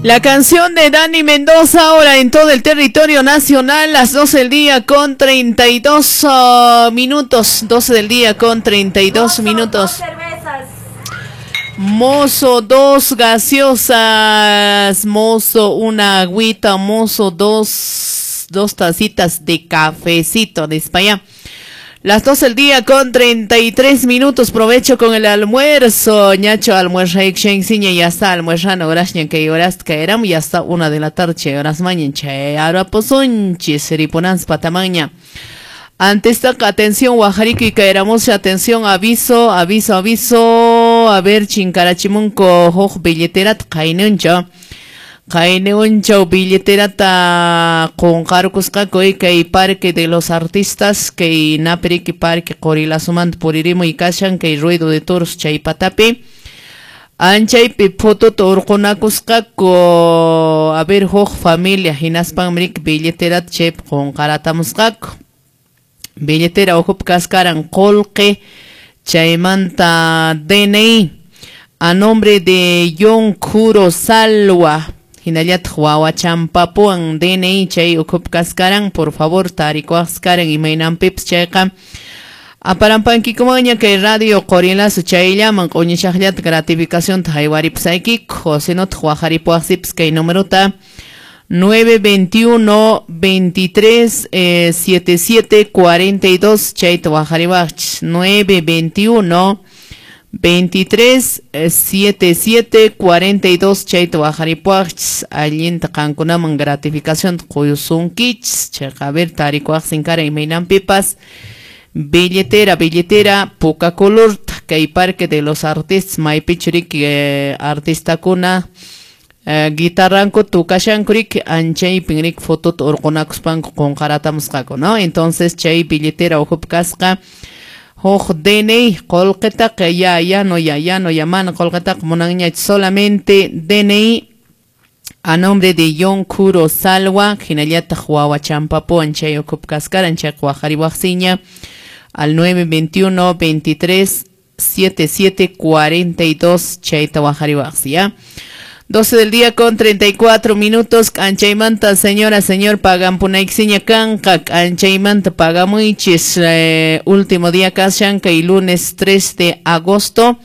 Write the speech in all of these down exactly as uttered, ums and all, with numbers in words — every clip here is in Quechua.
La canción de Dani Mendoza ahora en todo el territorio nacional, las doce del día con treinta y dos uh, minutos, doce del día con treinta y dos minutos. Mozo, dos gaseosas, mozo, una agüita, mozo, dos, dos tacitas de cafecito de España. Las doce del día con treinta y tres minutos, provecho con el almuerzo. Ñacho almuerza y ya está almuerzano, gracias que horas caerán, ya está una de la tarde, horas mañana, che, ahora pozonchi, seriponans patamaña. Ante esta atención, Guajarico y caeramos, atención, aviso, aviso, aviso, a ver, chincarachimunco, hoj billeterat, kainuncho. Kayniunchaw billeterata qunqarkusqaku kay Parque de los Artistas, kay Napiriki Parque Qorilasumanta puririmuy kashan kay Ruido de Toros chaypatapi. Anchaypi fototo urqunakusqaku, a ver, huk familia hinaspanmi billeterata chaypi qunqaratamusqaku. Billetera uhup kaskaran qullqi chaymanta D N I a nombre de John Kuro Salwa. Hinallataq wawachampapuwan D N I chay ukhup kaskaran, por favor, tarikuqskaran imaynanpipas chayqa. Aparampankikumanña kay radio Qorilazo chayllaman q'uñishaqllata gratificacionta haywaripusaykiku, sinotaq waqaripuwaqsipas kay numerota nueve veintiuno veintitrés eh, setenta y siete cuarenta y dos chayta waqariwaqchis, nueve veintiuno veintitrés setenta y siete cuarenta y dos chayta waqaripuwaqchis, allinta qankunaman gratificación quyusunkichis, chayqa a ver tarikuwaqsin kara imaynanpipas. Billetera, billetera, puka color, kay Parque de los Artistas, maypichu riki eh, artistakuna eh, guitarranku tukashanku riki, anchaypin riki fotota urqunakuspanku qunqaratamusqaku, ¿no? Entonces chay billetera uhup kasqa huk D N I qullqitaqa ya ya no ya ya no ya mana qullqitaqa munanñachu, solamente D N I a nombre de John Kuro Salwa, hinallataq wawachampapuwan chay ukhup kaskaran, chayqa waqariwaqsiña al nueve veintiuno veintitrés setenta y siete cuarenta y dos chayta waqariwaqsi, ¿ya? doce del día con treinta y cuatro minutos, anchaymanta, señora, señor, pagampunayksiña kanqa, anchaymanta pagamuychis, eh, último día kashanka y lunes tres de agosto,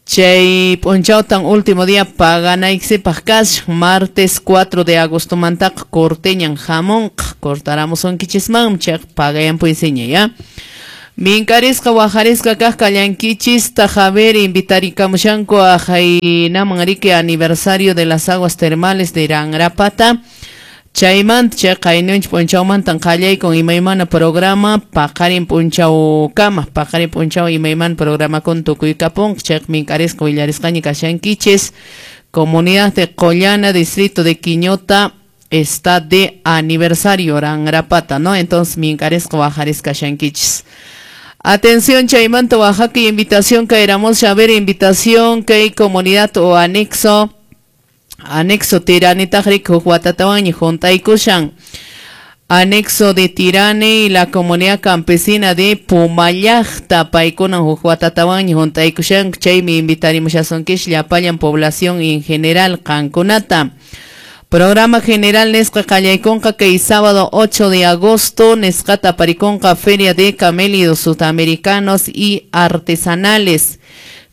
chay p'unchawtan último día paganayksipaq kashan, martes cuatro de agosto mantaqa corteñan hamunqa, cortaramusunkichisman, chayqa pagayanpuysiña, ¿ya? Minkarisqa waqarisqa kaq kallankichista, Javier, invitarikamushanku a Jainaman riki aniversario de las aguas termales de Irangrapata. Chaymanta chay qaynunchik p'unchawmantan qallaykun imaymana programa paqarin p'unchawkama, paqarin p'unchaw imaymana programakuna tukuykapunqa, chayqa minkarisqa willarisqaña kashankichis. Comunidad de Collana, distrito de Quiñota, está de aniversario Irangrapata, ¿no? Entonces minkarisqa waqarisqa kashankichis. Atención, chaymanta Oaxaca, invitación que éramos a ver, invitación que hay comunidad o anexo, anexo Tirani tajrik huatatawan y juntaykushan. Anexo de Tirani y la comunidad campesina de Pumayajta, paykuna huatatawan y juntaykushan, chaymi invitarimushasunkish llapallan población en general qankunata. Programa general nesqa qallaykunqa kay sábado ocho de agosto, nesqata parikunqa Feria de Camélidos Sudamericanos y Artesanales.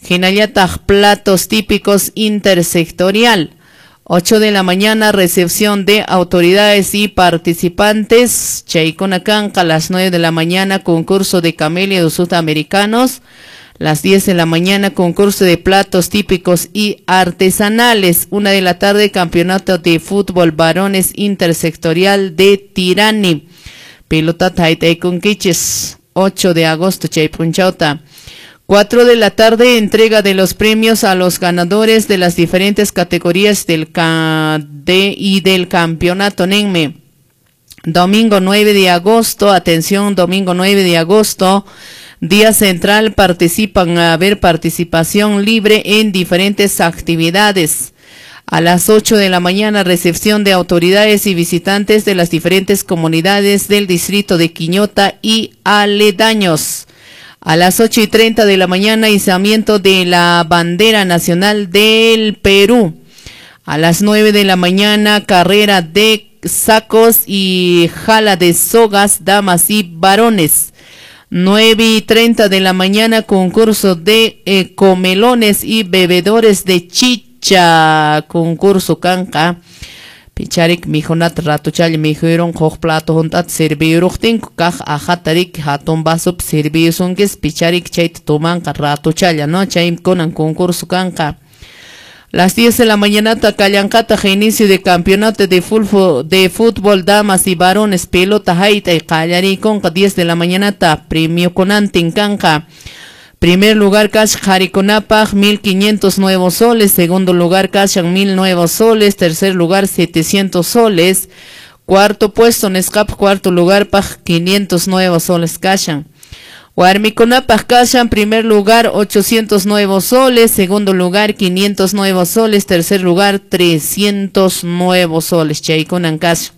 Hinallataq platos típicos intersectorial. ocho de la mañana, recepción de autoridades y participantes. Chaykuna kanqa a las nueve de la mañana, concurso de camélidos sudamericanos. Las diez de la mañana, concurso de platos típicos y artesanales. Una de la tarde, campeonato de fútbol varones intersectorial de Tirani. Pelota Taitaikunquiches, ocho de agosto, Chaypunchauta. cuatro de la tarde, entrega de los premios a los ganadores de las diferentes categorías del K D y del campeonato Nenme. Domingo nueve de agosto, atención, domingo nueve de agosto, día central, participan a ver participación libre en diferentes actividades. A las ocho de la mañana, recepción de autoridades y visitantes de las diferentes comunidades del distrito de Quiñota y aledaños. A las ocho y treinta de la mañana, izamiento de la bandera nacional del Perú. A las nueve de la mañana, carrera de sacos y jala de sogas, damas y varones. nueve y treinta de la mañana, concurso de eh, comelones y bebedores de chicha. Concurso kanqa. Picharik mijunat ratuchalla mijuyrun huk plato hunt'ata sirviyuruqtinku kaq aqhata riki hatun vasupi sirviyusunkis picharik chayta tumanqa ratuchalla, ¿no? Chaykunan concurso kanqa. Las diez de la mañana kallanqataq inicio de campeonato de fútbol, de fútbol damas y varones pelota hayt'ay qallariykunqa diez de la mañana premio kunantin kanqa. Primer lugar kashan qharikunapaq mil quinientos nuevos soles, segundo lugar kashan mil nuevos soles, tercer lugar setecientos soles, cuarto puesto nisqapaq cuarto lugar paq quinientos nuevos soles kashan. Warmikunapaq kashan primer lugar ochocientos nuevos soles, segundo lugar quinientos nuevos soles, tercer lugar trescientos nuevos soles. Chaykunan kashan.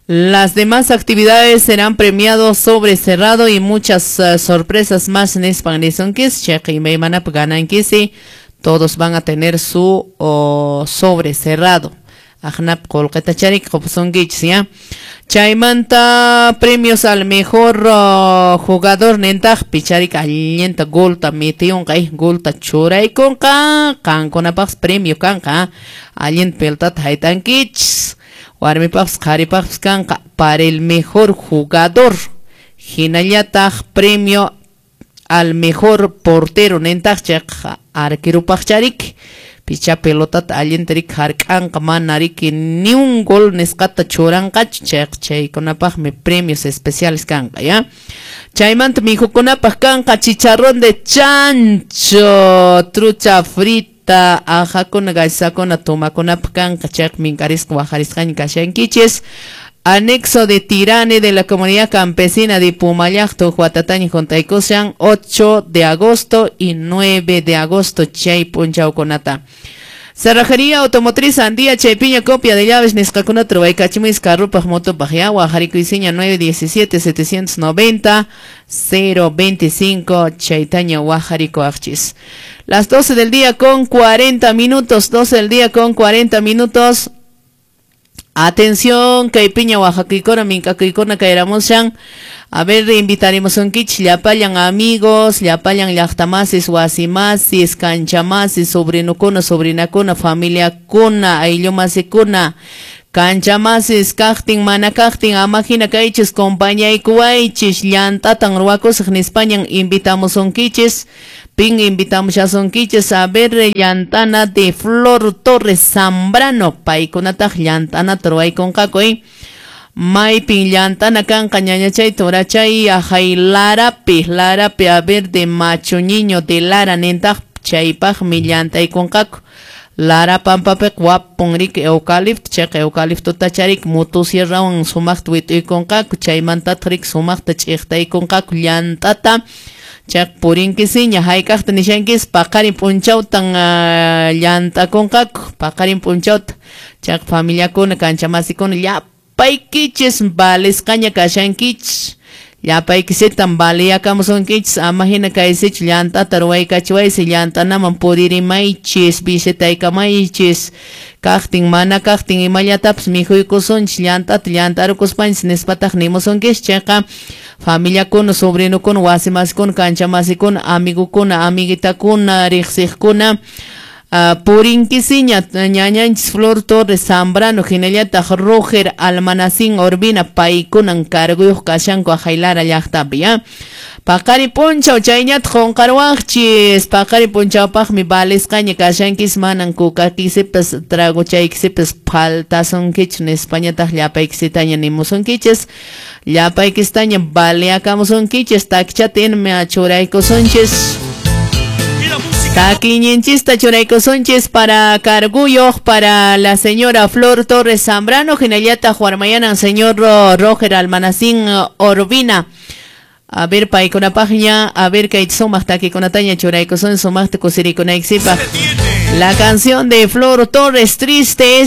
Las demás actividades serán premiados sobre cerrado y muchas uh, sorpresas más en nispan nisunkichis, chayqa imaymanapaq ganankisi, todos van a tener su oh, sobre cerrado. Aqnap qullqita charik qupusunkichis, ya. Chaymanta premios al mejor uh, jugador nintaq picharik allinta golta metiyunqa, golta churaykunqa, qankunapaqpas premio kanqa, allinta pelotata haytankichis. Warmipaqpas qharipaqpas kanqa para el mejor jugador. Hinallataq premio al mejor portero nintaq chayqa arquerupaq charik. Picha pelotata allinta riki hark'anqa mana riki ni un gol nisqata churanqachu chayqa chaykunapaqmi premios especiales kanqa, ya. Chaymanta mijukunapaq kanqa chicharrón de chancho, trucha frita, aqhakuna gaysakuna tumakunapaq kanqa chayqa minkarisqa waqharisqaña kashankichis. Anexo de Tirane de la comunidad campesina de Pumallaqta watataña juntaykushan ocho de agosto y nueve de agosto chay p'unchawkunata. Cerrajería Automotriz Andía chaypiña copia de llaves nisqakunata ruwaykachimuychis carrupaq motopaq ya waqharikuysiña nueve diecisiete setecientos noventa cero veinticinco chaytaña waqharikuwaqchis. Las doce del día con cuarenta minutos, doce del día con cuarenta minutos. Atención, kaypiña waqhakuykuna minkakuykuna kayramushan. A ver, invitaremos un kich, llapallan amigos, llapallan llaqtamasis, wasimasis, kanchamasis, sobrinukuna, sobrinakuna, familiakuna, ayllumasikuna, kanchamasis, kaqtin, mana kaqtin, amahina kaychis, compañaykuwaychis, llant'atan ruwakusaq nispañan invitamos un kichis. Pin invitamos a sonquiches a ver llantana de Flor Torres Zambrano, paykunataq llantana ruwaykunqaku, eh. Maypin llantana kanqa ñañachay turachay ahay Larapi, Larapi a ver de macho niño de Lara nintaq chaypaqmi llantaykunqaku. Lara pampapiqa wapun riki eucalipto, chayqa eucaliptota charik motosierrawan sumaqta wit'uykunqaku, chaymantataq riki sumaqta ch'iqtaykunqaku llant'ata. Chayqa purinkisiña hayk'aqta nishankis paqarin p'unchawtan uh, llant'akunqaku, paqarin p'unchawta. Chayqa familiakuna kanchamasikuna llapaykichis valisqaña kashankichis. Llapaykisitan valiyakamusunkichis ama hina kaysichu llant'ata ruwaykachiwaysi llant'anaman puririmaychis visitaykamaychis kaqtin mana kaqtin imallatapis mikhuykusunchis llant'ata llant'arukuspanchis nispataq nimusunkichis. Chayqa familiakuna sobrinukuna wasimasikuna kanchamasikuna amigukuna amiguitakuna riqsiqkuna Uh, purinkisiña ñañanchis Flor Torres Zambrano hinallataq Roger Almanacín Urbina paykunan carguyuq kashanku Lara llaqtapi, ya. Paqari p'unchaw chayñataq qunqaruwaqchis paqari p'unchawpaqmi valisqaña kashankis manan kukakisipas tragochaykisipas faltasunkichu nispañataq llapaykisitaña nimusunkichis llapaykisitaña valiakamusunkichis takichata inmi churaykusunchis. Takiñinchista churaykusunchis para carguyuq para la señora Flor Torres Zambrano, hinallataq warmayanan señor Roger Almanacín Urbina. A ver, paykunapaqña, a ver, kay sumaq takikunataña churaykusun sumaqta kusirikunaykisipaq. La canción de Flor Torres, Triste es